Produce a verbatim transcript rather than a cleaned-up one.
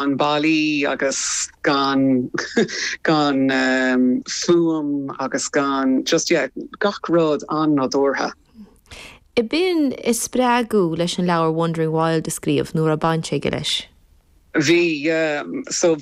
ballaí agus gan gan um, fuaim agus gan just yeah, gach rud an-nádúrtha. Ab in é spreagadh leis an leabhar Wandering Wild a scríobh nó an raibh baint aige leis. Bhí yeah, so